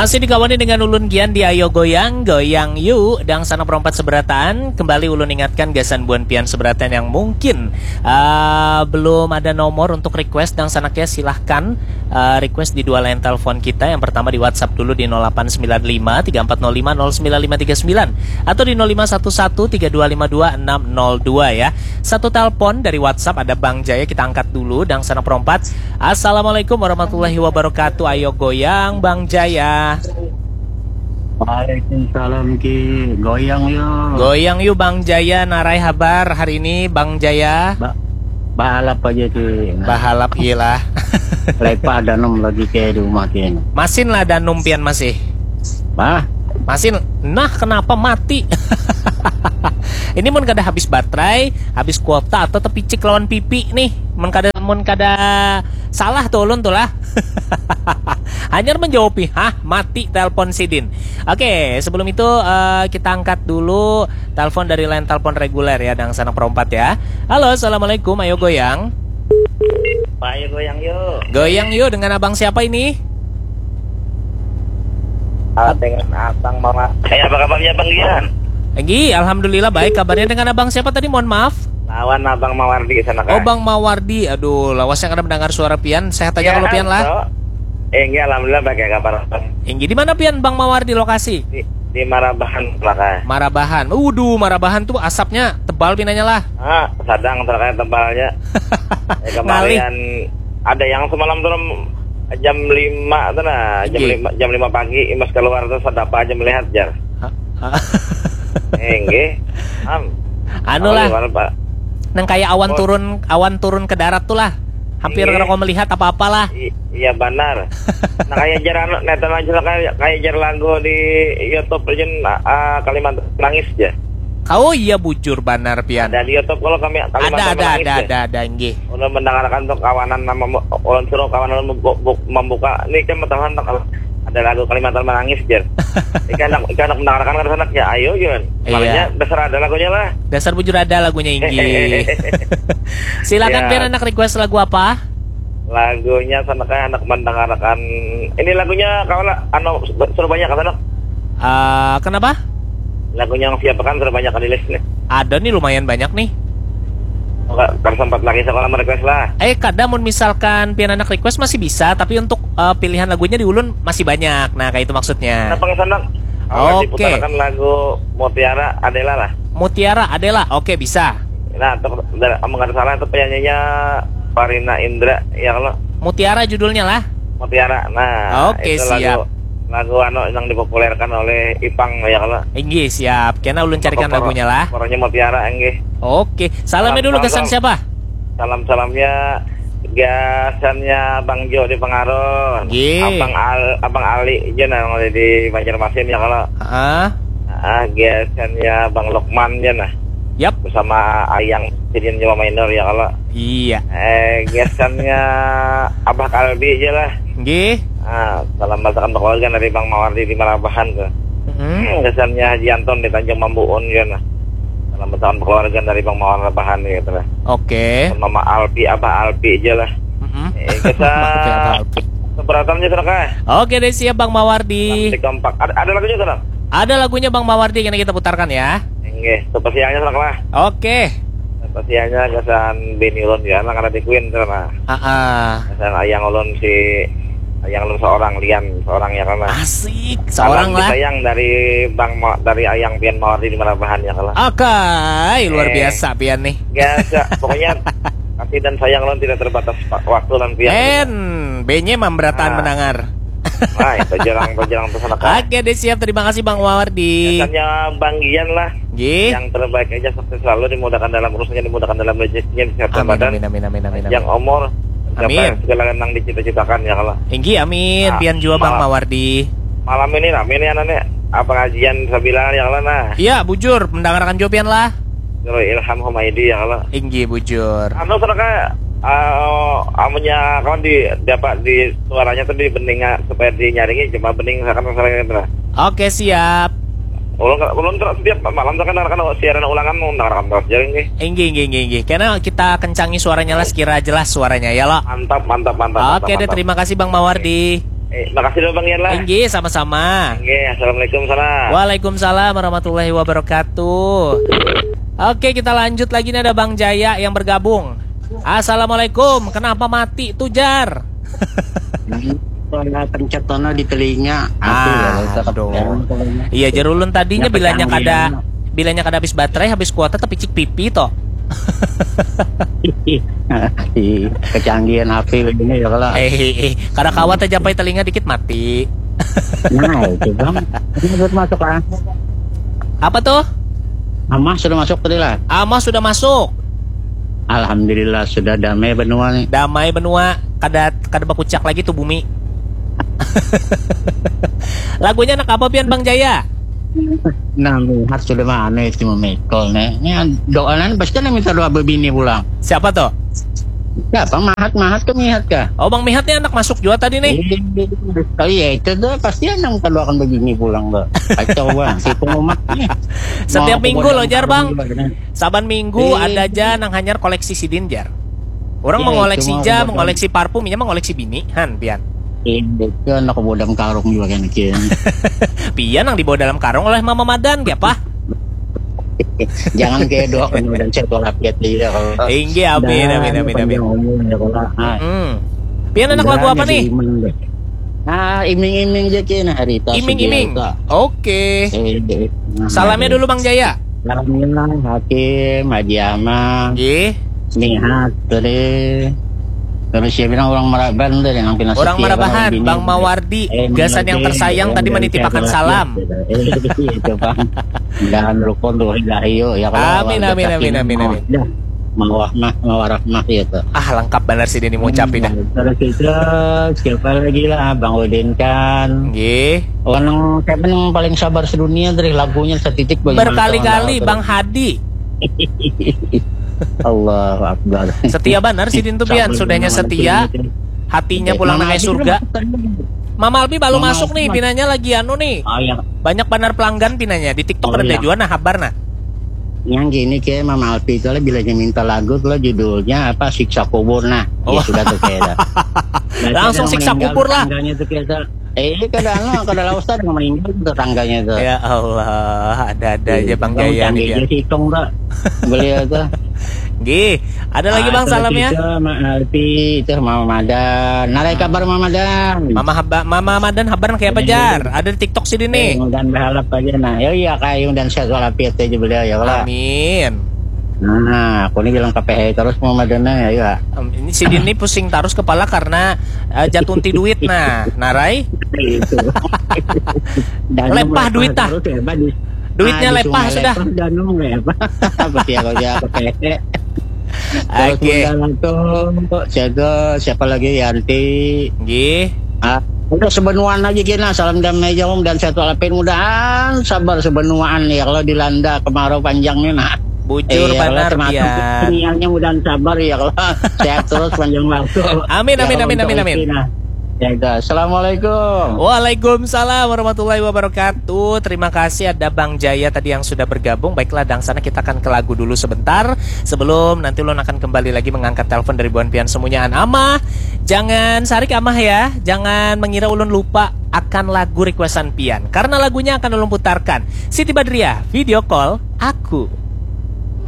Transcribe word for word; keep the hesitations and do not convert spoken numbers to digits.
Masih dikawani dengan ulun Gian di Ayo Goyang, Goyang Yu, dangsanak perompat seberataan. Kembali ulun ingatkan gasan buan pian seberataan yang mungkin uh, belum ada nomor untuk request dangsanak ya, silahkan uh, request di dua line telepon kita. Yang pertama di WhatsApp dulu di nol delapan sembilan lima tiga empat nol lima nol sembilan lima tiga sembilan atau di nol lima satu satu tiga dua lima dua enam nol dua ya. Satu telepon dari WhatsApp ada Bang Jaya, kita angkat dulu dangsanak perompat. Assalamualaikum warahmatullahi wabarakatuh. Ayo goyang Bang Jaya. Waalaikumsalam Ki. Goyang yuk. Goyang yuk Bang Jaya. Narai habar hari ini Bang Jaya? Ba bahalap aja Ki. Nah. Bahalap gila. Lepa danum lagi kayak di rumah Ki. Masin lah danum pian masih. Bah. Masin. Nah, kenapa mati? Ini mun kada habis baterai, habis kuota atau tepicik lawan pipi nih. Mun kada mun kada salah tuh ulun tuh lah. Hanyar menjawab hah mati telepon sidin. Oke, sebelum itu uh, kita angkat dulu telepon dari line telepon reguler ya, dangsanak perompat ya. Halo, assalamualaikum, ayo goyang. Ayo goyang yuk. Goyang yuk, dengan abang siapa ini? Ah, dengan abang Mawar. Eh, apa kabarnya Bang Gian? Egi, alhamdulillah baik. Kabarnya dengan abang siapa tadi? Mohon maaf. Lawan abang Mawardi sana kan. Oh, bang Mawardi. Aduh, lawasnya kada mendengar suara pian. Sehat aja ya, kalau pian lah. Eh, enggak, alhamdulillah baik ya kabar. Inggih, di mana pian Bang Mawar di lokasi? Di, di Marabahan belakang. Marabahan. Uduh, Marabahan tuh asapnya tebal pinanya lah. Ah, sadang terkait tebalnya. Ya, kemarin ada yang semalam tuh jam lima tuh nah, jam lima jam lima pagi imas keluar tuh sedapa aja melihat jar. Enggih. Am. Anu lah. Nang kayak awan turun awan turun ke darat tuh lah. Hampir kada melihat apa-apa lah. Iya banar. Nah kayak jar anu netan aja lah kayak kayak jar lagu di YouTube aja uh, Kalimantan nangis aja. Oh iya bujur banar pian. Ada di YouTube kalau kami Kalimantan ada, ada, ada, ada, ada, ada, enggih. Udah mendengarkan tuh kawanan nama ulun suruh kawanan membuka ini kan matahan ada lagu Kalimantan menangis jar. Ikan anak ikan anak mendengarkan kan sana ya ayo Jun. Iya. Makanya besar ada lagunya lah. Dasar bujur ada lagunya inggih. Silakan ya. Pian anak request lagu apa? Lagunya sana kayak anak mendengarkan ini lagunya kawan anu suruh banyak sana. Uh, kenapa? Lagunya yang siapa kan suruh banyak di list nih. Ada nih lumayan banyak nih. Enggak, sempat lagi sekolah merequest lah. Eh, kada mun misalkan pian anak request masih bisa, tapi untuk uh, pilihan lagunya di ulun masih banyak. Nah, kayak itu maksudnya. Kenapa nggak sana? Oke. Okay. Lagu Mutiara Adela lah. Mutiara Adela, oke okay, bisa. Nah, untuk mengenai salah itu penyanyinya Parina Indra ya kalau. Mutiara judulnya lah. Mutiara. Nah, oke okay, siap. Lagu, lagu anu yang dipopulerkan oleh Ipang ya kalau. Inggih siap. Kena ulun carikan lagunya lah. Orangnya Mutiara inggih. Oke. Okay. Salamnya dulu kesan siapa? Salam salamnya gasannya Bang Jo di Pengaron. Abang Al, Abang Ali aja nah di Banjarmasin ya kalau. Ah. Ah, gasannya Bang Lokman aja nah. Yap. Bersama Ayang Sidin Jawa Minor ya kalau. Iya. Eh, gasannya Abah Kalbi aja lah. Nggih. Ah, salam batakan keluarga dari Bang Mawardi di Marabahan tuh. Hmm. Gasannya Haji Anton di Tanjung Mambuun ya nah. Salam batakan keluarga dari Bang Mawardi Rabahan gitu lah. Oke. Okay. Mama Alpi, Abah Alpi aja lah. Mm -hmm. Eh, kita keberatan aja kah? Oke deh siap Bang Mawardi. Di kompak. Ada, ada lagunya kan? Ada lagunya Bang Mawardi yang kita putarkan ya. Nggih, spesialnya sana lah. Oke. Spesialnya gasan Beni ulun ya, nang ada di Queen sana. Heeh. Gasan ayang ulun si ayang ulun seorang Lian, seorang ya karena. Asik, seorang lah. Sayang dari Bang Ma, dari ayang pian Mawardi di Marabahan ya kalau. Oke, luar eh, biasa pian nih. Biasa, pokoknya kasih dan sayang ulun tidak terbatas waktu dan pian. En, benye memberataan nah. Mendengar. Nah, itu jarang itu jarang tuh sana. Oke deh siap, terima kasih Bang Mawardi. Biasanya Bang Gian lah. Gih. Yang terbaik aja sukses selalu, dimudahkan dalam urusannya, dimudahkan dalam rezekinya, kesehatan amin, badan. Amin amin amin amin. Yang umur amin. Segala yang dicita-citakan ya kalau. Inggih amin. Nah, pian juga Bang Mawardi. Malam ini rame nih anak nih. Apa ngajian sebilangan ya kalau nah. Iya bujur, mendengarkan juga pian lah. Nurul Ilham Humaidi ya kalau. Inggih bujur. Anu sana kayak uh, amunya kawan di dapat di suaranya tuh di beninga supaya dinyaringi cuma bening akan masalah ini lah. Oke siap. Ulun ulun terus setiap malam tuh kan akan siaran ulangan mau mendengarkan terus jadi nih. Inggih inggih inggih inggih. Karena kita kencangi suaranya lah sekira jelas suaranya ya lo. Mantap mantap mantap. Oke mantap, deh mantap. Terima kasih Bang Mawardi. Eh, makasih dulu Bang Yan lah. Inggih, sama-sama. Inggih, assalamualaikum salam. Waalaikumsalam warahmatullahi wabarakatuh. Oke, kita lanjut lagi nih, ada Bang Jaya yang bergabung. Assalamualaikum, kenapa mati tuh, Jar? Kalau pencet tono di telinga, Ah, aduh, ya, tetap aduh. Yang pokoknya. Iya, jar ulun tadinya Yang bilanya pecah kada dia. Bilanya kada habis baterai, habis kuota, tapi cik pipi toh. Ih, kecanggihan H P ini ya kalau. Eh, eh, eh. Kada kawat aja pai telinga dikit mati. Nah, itu bang. Ini sudah masuk ah. Apa tuh? Amah sudah masuk tadi lah. Amah sudah masuk. Alhamdulillah sudah damai benua nih. Damai benua, kada kada bakucak lagi tuh bumi. Lagunya anak apa pian, Bang Jaya? Nah, Mihat sudah mana itu memikul nih. Ini doanan pasti ada minta doa bebini pulang. Siapa tuh? Siapa Mahat Mahat ke Mihat kah? Oh, Bang Mihat nih anak masuk juga tadi nih. Oh iya, itu tuh pasti ada minta doakan bebini pulang tuh. Kacau bang, si pengumat nih. Setiap Mau minggu aku loh, Jar, Bang. Juga, nih. Saban minggu Iya. Ada aja nang hanyar koleksi sidin, Jar. Orang Iya, mengoleksi itu mah ja, aku mengoleksi parfum, inya mengoleksi bini, han pian. Iya, itu anak aku bodam karung juga kan kian. Pian yang dibawa dalam karung oleh Mama Madan, ya, Pak? Jangan kayak doakan udah saya tolak ya tidak kalau. Inggih, amin, amin, amin, amin. Panjang umur ya kalau. Ah. Hmm. Pian anak lagu Udah, apa jadi nih? Iman deh. Ah, iming-iming aja kena hari tas. Iming-iming. Biasa. Oke. Eh, eh, nah, Salamnya eh. Dulu, Bang Jaya. Salamnya Hakim, Haji Amang, Nggih. Nihat tadi. Terus siapa bilang orang Maraban tadi yang pindah Orang setia Marabahan, bini. Bang Mawardi, Eh, gasan yang Mawardi, tersayang yang tadi dari menitipkan Cakrawala salam. Gitu. Eh, itu Bang. Dan rukun tuh dahiyo ya kalau Amin, warga amin, amin, sakinah amin, mau amin. Dah, mau rahmah, mau rahmah gitu. Ah, lengkap benar sih ini mau ucapi dah. Terus itu siapa lagi lah Bang Udin kan. Nggih. Orang siapa yang paling sabar sedunia dari lagunya setitik bagi Berkali-kali Bang Bang Hadi. Allahu Akbar. Setia benar sidin tuh pian, Sabar sudahnya benar setia, sidin. hatinya Oke, pulang Mama nang Alpi surga. belum masuk tadi. Mama Alpi belum Mama masuk Alpi nih, masuk. Pinanya lagi anu nih. Oh iya. Banyak benar pelanggan Pinanya di TikTok Oh, ada iya. Jua nah habar nah. Yang gini ke Mama Alpi itu lah bilanya minta lagu tuh lah judulnya apa Siksa Kubur nah. Oh. Ya sudah tuh kayak dah. Biasanya Langsung orang Siksa meninggal Kubur lah. Tetangganya tuh kayak dah. Eh, ini kada anu, kada lawas ada yang meninggal tuh tetangganya tuh. Ya Allah, ada-ada aja Bang Bang Jaya Candi nih. Pian. Dia hitung tuh. Beliau tuh. Nggih, ada lagi Ah, Bang terus salamnya. Itu, Ma Alpi, itu Mama Madan. Narai kabar Mama Madan. Mama haba, Mama Madan habar kayak apa Ini. Jar? Ada di TikTok sini nih. Eh, mudah-mudahan berharap aja nah. Ya iya kayu dan sehat walafiat aja beliau ya kalau. Amin. Nah, aku ini bilang K P H terus Mama Madan ya. Ya. Em, Ini sidin nih pusing terus kepala karena eh, jatuh ti duit nah. Narai. Itu. Dan Lepah duit, ah. Terus ya, Pak, di- Duitnya ah, di lepah Sungai sudah. Lepah, dan nunggu ya, Pak. Apa sih kalau dia K P H? Terus Oke. Bunda Ratu, siapa, siapa lagi Yanti? Nggih. Ah, udah sebenuan aja kena salam damai aja Om dan sehat walafiat mudahan sabar sebenuan ya kalau dilanda kemarau panjang nih nah. Bujur Iya, banar kalau termasuk pian. Sinyalnya mudah sabar ya kalau sehat terus panjang waktu. Amin, Ya, amin, kalau amin, untuk amin, amin. Alvin, nah. Ya, itu. Assalamualaikum. Waalaikumsalam warahmatullahi wabarakatuh. Terima kasih ada Bang Jaya tadi yang sudah bergabung. Baiklah, dangsana kita akan ke lagu dulu sebentar. Sebelum nanti ulun akan kembali lagi mengangkat telepon dari buan pian semuanya. Amah, jangan sarik Amah ya. Jangan mengira ulun lupa akan lagu requestan pian. Karena lagunya akan ulun putarkan. Siti Badriah, Video Call Aku.